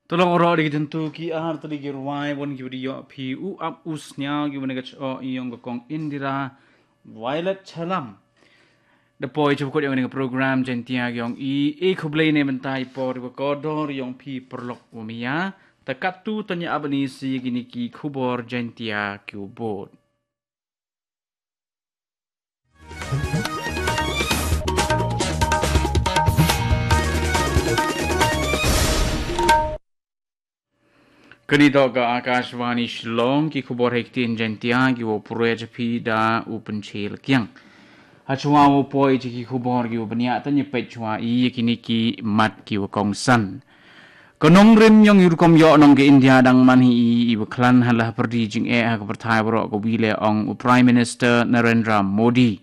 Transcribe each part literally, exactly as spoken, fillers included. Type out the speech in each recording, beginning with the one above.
To long ro de ki tyntu ki ar tylli ki rwai bun ki video phi u ap u sniaw ki bun ka cho i yong ka kong Indira Violet Chalam. Da poi chapkut yong ni program Jaintia yong i e khublei ne bynta i por wa ko dor yong phi perlok wa mia. Ta katu tanya abani si kini ki khubor Jaintia ki u bot. Kani to ka Akashvani Shillong ki khubor hektin Jaintia ki wo pure japi da u penchil kiang. Hachwa wo poi ji ki khubor ki wo benya tanya pechwa i kini ki mat ki wo kongsan. Ka nongrim yong i rukom yoh nong ka India dang man hi i, i baklan ha la perdi jing eh ha ka perthai bro ka wile ong u Prime Minister Narendra Modi.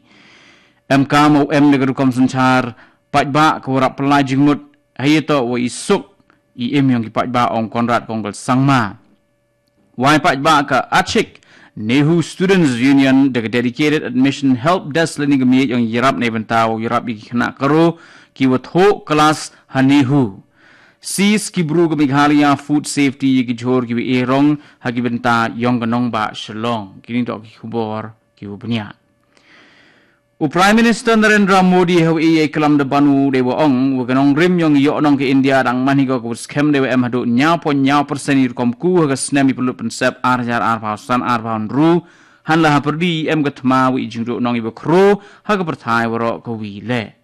Em ka mo em de ka rukom sunchar, pajba ka warap pelai jingmut, hayeto wa i suk, i im yong ki pajba ong Conrad Kongkal Sangma. Wai pajba ka Achik, Nehu Students Union, de ka Dedicated Admission Help Desk lani ka miet yong yarap ne benta wa yarap i ki kena karo, ki wa thok kelas ha Nehu. Sis ki bru ka Meghalaya Food Safety ya ki jhur ki wa e rong ha ki bynta yong ka nongbah Shillong. Kini dok ki khubor ki wa benya. U Prime Minister Narendra Modi ha wa e ya i klam da banu de wa ong wa ka nongrim yong yoh nong ka India dang man hi ko ka wa skhem de wa em hadu nyaw pon nyaw persen i rukom ku ha ka snem i pelut pensep ar hajar ar phaw san ar phaw nru. Han la ha perdi em ka thma wa i jingduk nong i wa kro ha ka perthai wa ro ka wi le.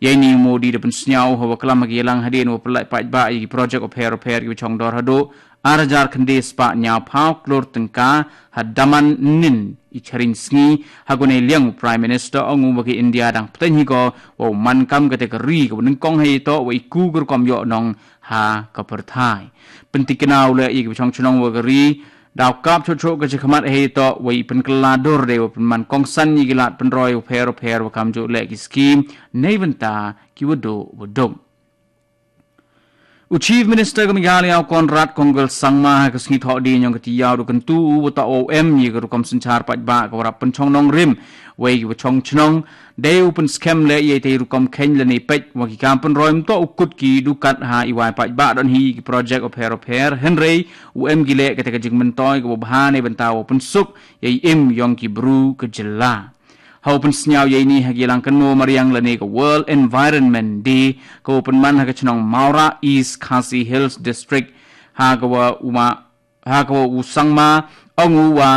Yei ni Modi da pynsnyaw ha wa klam ha ki yalang hadien wa pelai pajba i ki projek o pher o pher ki wa chong dor hadu ar hajar khyndai spah nyaw phaw klur tengka ha daman nin i charing sngi ha kone liang u Prime Minister ong u wa ki India dang pteng hi ko wa u man kam ka te ka ri ka wa nyngkong ha i to wa i ku ka rukom yoh nong ha ka perthai. Pyntikna u le i ki wa chong chnong wa ka ri Daw kap chok chok ka chikhmat hei to wa i pynkylla dur de wa pynman kongsan i gilat pynroi u pher u pher wa kam juk leh ki skim nei bynta ki wa duk wa duk. U Chief Minister ka Meghalaya u Conrad Kongkal Sangma ha ka sngi thoh di nyong ka tiyaw du kyntu u wa ta o em i ka rukom synchar paidbah ka warap pynchong nongrim wei ki wa chong chnong Dei u pynskhem leh ïa itei rukom kheiñ lane peit wa ki kam pynroi mynta u kut ki dukat ha i wai paidbah don hi ki projek u pher u pher hynrei u em ki leh kata ka jingmyntoi ka wa bha ne bynta wa pynsuk ïa i im yong ki bru ka jylla. Ha u pynsngew ïa ini ha ki lang kynmo mariang lane ka World Environment Day ka wa pynman ha ka chnong Mawra East Khasi Hills District ha ka wa u ma ha ka wa u Sangma ong u wa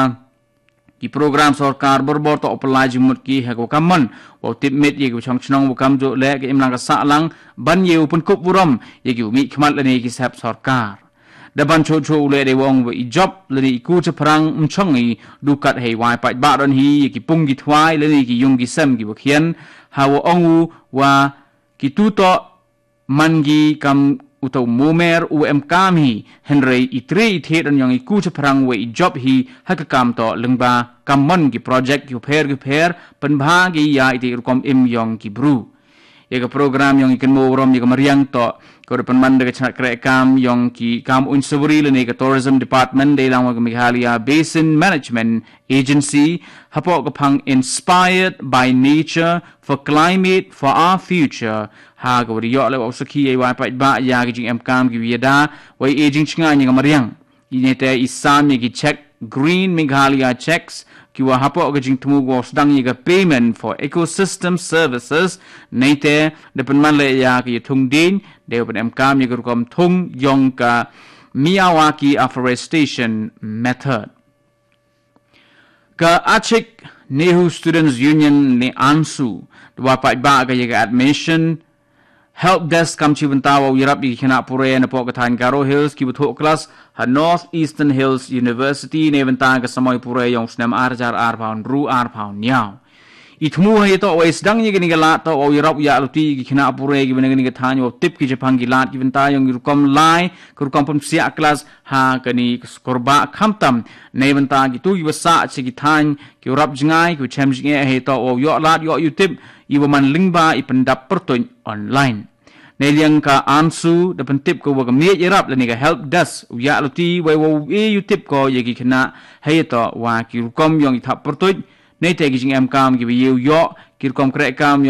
Ki program sorkar borbor to u pynlai jingmut ki ha ka wa kam mon wa u tip miet ïa ki wa chong chnong wa kam juk leh ka imlang ka sahlang ban ïa u pynkup burom ïa ki wa mih khmat lane ki sep sorkar. Da ban chuh chuh u leh dei wa ong wa i jop lane i ku chaphrang mchong i dukat hei wai paidbah don hi ïa ki pung ki thwai lane ki yung ki sem ki wa khian ha wa ong u wa ki tu to man ki kam u to momer u em kam hi hynrei i tre i thied on yong i ku chaphrang wa i jop hi ha ka kam to lyngba kam mon ki projek ki pher ki pher pynbha ki ïa itei rukom im yong ki bru. Ïa ka program yong i kynmo burom ïa ka mariang to ka da pynman da ka chnat kreh kam yong ki kam unsawari lane ka Tourism Department dei lang wa ka Meghalaya Basin Management Agency hapoh ka phang Inspired by Nature for Climate for Our Future ha ka wa da ïoh leh wa u sakhi ïa i wai paidbah ïa ki jingem kam ki wa ïada wa i jingchnga ïa ka mariang. I ne te i sam ïa ki check Green Meghalaya checks ki wa hapoh ka jingthmu wa u sdang ïa ka payment for ecosystem services ne te da pynman leh ïa ka ïa thung ding dei wa pynem kam ïa ka rukom thung yong ka Miyawaki afforestation method. Ka Achik Nehu Students Union ne ANSU da wa paidbah ka ïa ka admission help desk kam chi bynta wa u ïarap ïa ki khynnah pure na poh ka thaiñ Garo Hills ki wa thoh klas ha North Eastern Hills University ne bynta ka samoi pure yong u snem ar hajar ar phaw hynru ar phaw hynñiaw. I thmu ha ïa to wa i sdang ïa kani ka lad to wa u ïarap u ïa luti ïa ki khynnah pure ki wa na kani ka thaiñ wa u tip ki japhang ki lad ki bynta yong ki rukom lai ka rukom pynpsiah klas ha kani ka skur ba khamtam ne bynta ki tu ki wa sah cha ki thaiñ ki wa rap jngai ki wa chem jngai ha ïa to wa u ïoh lad ïoh ïa u tip i wa man lyngba i pyndap pyrtuit online. Ne liang ka ANSU da pyntip ka wa ka miet ïarap lane ka help desk u ïa luti wa wa u e ïa u tip ko ïa ki khynnah ha ïa to wa ki rukom yong i thap pyrtuit ne te ki jingem kam ki wa ïa u ïoh ki rukom kreh kam